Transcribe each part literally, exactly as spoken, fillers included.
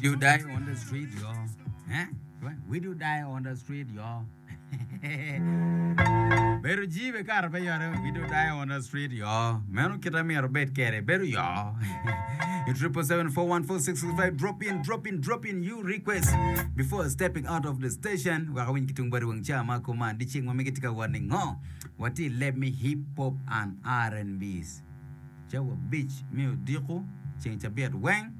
do die on the street, y'all. Eh? We do die on the street, y'all. Bedo jibe kare pe yore we do die on the street yo. Meno kita myero bed kede bedo yo. Triple seven four one four six six five drop in drop in drop in you request before stepping out of the station. Waka winy kitung bari wang cha ma kuman di cing ma migi tika wani ngo. Wati let me hip hop and R and B's. Cawa abic me odiko ceng cabit weng.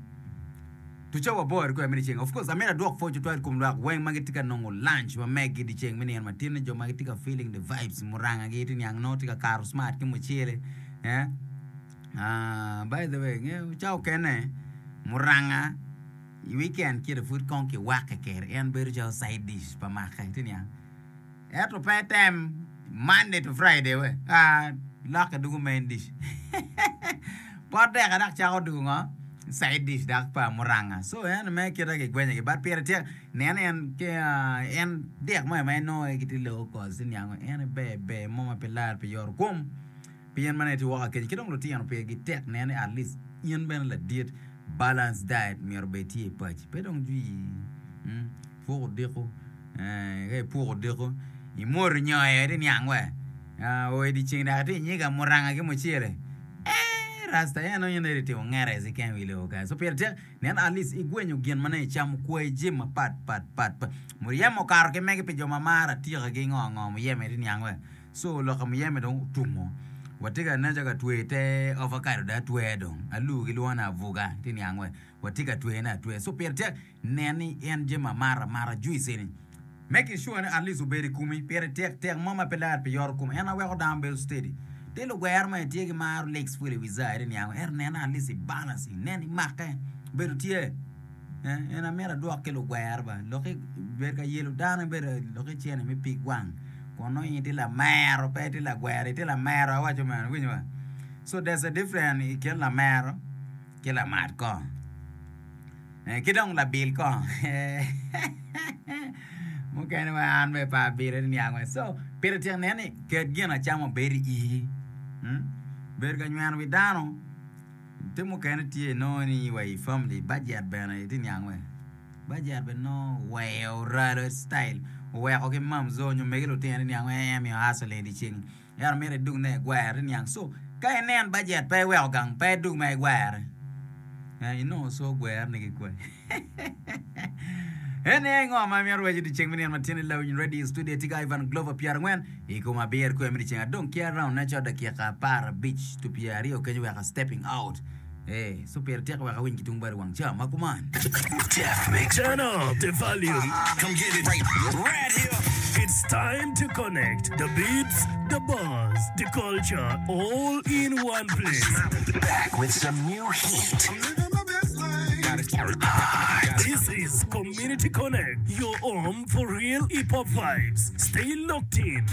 To cawa aboro kwe me dyeceng. Of course, amyero adwok pwoc tutwal i kom lwak weng ma gitye ka nongo lunch ma meggi dyeceng me nino matin-ni, jo ma gitye ka feeling the vibes, muranga-gi tye niang nongo tye ka kato smart ki mucele. Eh? Ah, by the way, ngeyo cawa okene muranga i weekend kite pud kong kiwakke kede, en bedo calo side dish pa make, tye niang. Ento pe item Monday to Friday we, ah, lokke dugo main dish. Pot deka dok cako dugo ngo? Side dish dok pa muranga. So en me kite gigwenyo ki but pire tek nen en ki en dek mo ma inongo gitye low cost ti niango en ber ber mo ma pe lar pi yoro kom pi in ma nongo itye woko akeca ki dong lutino pigi tek nen ni at least in bene ladit balance diet myero obed tye i paci pe dong jwi puk odiko ka ipuko odiko imoto nyoyo iti niang we o i dyeceng dok iti nyiga muranga ki mucele ee rasta en nongo in iti timo ngere keken i wi lobo kany so pire tek nen at least igwenyo gin ma nongo icamo kwayi jami mapat pat pat pat muyeme okato ki megi pi jo ma maro atika ki ngo ngo muyeme iti niang we so loka muyeme dong otumo watye ka nen calo ka tweyo te avocado dong atweya dong alu gilwongo ni avuga iti niang we watye ka tweyone atweya so pire tek nen ni en jami amata amata juice eni making sure ni at least obedo i komi pire tek tek mo ma pe lar pi yoto kom en aye weko dano bedo steady te lugwero ma itye ki maro licks pud i wi zaa iti niang ento nen at least i balance nen imake bedo tye en amito adwok ki lugwero ba lok bedo ka yelo dano bedo lok icene me pig wang kun nongo in itye lamero pe itye lagwero itye lamero awaco meno iwinyo ba so there's a difference i kin lamero ki lamat kongo ki dong labil kongo mukene wa an bene pe abilo ni niang wa so pire tek nen ni ket gin acama obed i ii bedo ka nyweno wi dano te mukene tye inongo ni wa i family budget bene iti niang we budget bene nongo oweyo oralo style oweko ki mamzo nyo megi lutino ni niang we en miyo hustling dyeceng ento mito idug ne igwere niang so ka inen budget pe iweko gang pe idug ma igwere inongo so gwere ni kikwe en aye ngo ma myero waci dyeceng me nino ma tye ni Lawiny Radio Studio tye ka Ivan Glover pyerangwen i kom abiro kwer me dyeceng adong ki around ne calo dakika apar abic to pyera aryo kenyo weka stepping out eh so pire tek wek awiny ki tung badi wang ca ma kuman. Turn up the volume. Come get it right, right here. It's time to connect the beats, the buzz, the culture, all in one place. Back with some new heat. This is Community Connect, your home for real hip hop vibes. Stay locked in.